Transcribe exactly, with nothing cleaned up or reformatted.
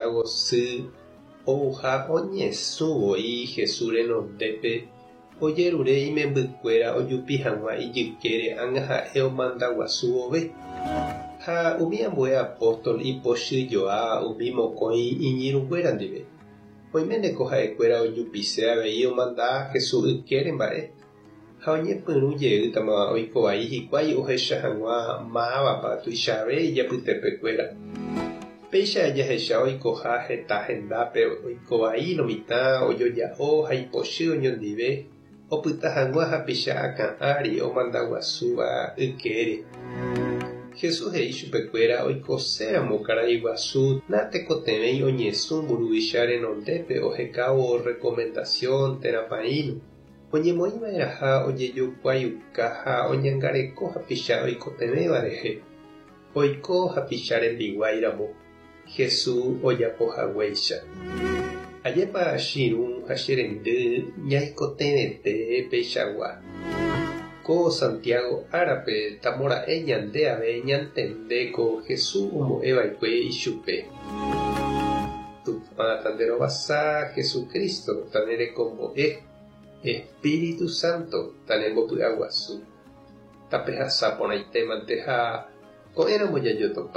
Santiago sy ouha oñesũ voi Jesús renondépe ojerure imembykuéra ojupi hag̃ua ijykére ág̃a ha'e omanda guasu vove. Ha umi ambue apóstol ipochyjoa umi mokõi iñirũnguéra ndive. Oiméneko ha'ekuéra ojupise avei omanda Jesús ykére mba'e ha oñepyrũ jeýtama oikovai hikuái ohecha hag̃ua mávapa tuichave ijapytepekuéra. Péicha jahecha oikoha heta hendápe oikovai lo mitã ojoja'o ha ipochy oñondive opyta hag̃ua hapicha akã ári omanda guasúva ykére. Jesús he'i chupekuéra oikoséramo karai guasu natekotevẽi oñesũ mburuvicha renondépe ohekávo recomendación térã paĩno. Oñemoĩva'erãha ojejokuaiuka ha oñangareko hapicha oikotevẽva rehe. Oiko hapicha rembiguáiramo Jesús ojapohaguéicha. Ajépa che irũ ha che rendy ñaikotevẽte peichagua. Ko Santiago árape tamora'e ñande ave ñantende ko Jesús ombo'eva'ekue ichupe. Tupã tanderovasa Jesucristo tanerekombo'e Espíritu Santo tanembopy'aguasu. Tapehasa porãitémante ha ko'ẽramo jajotopa.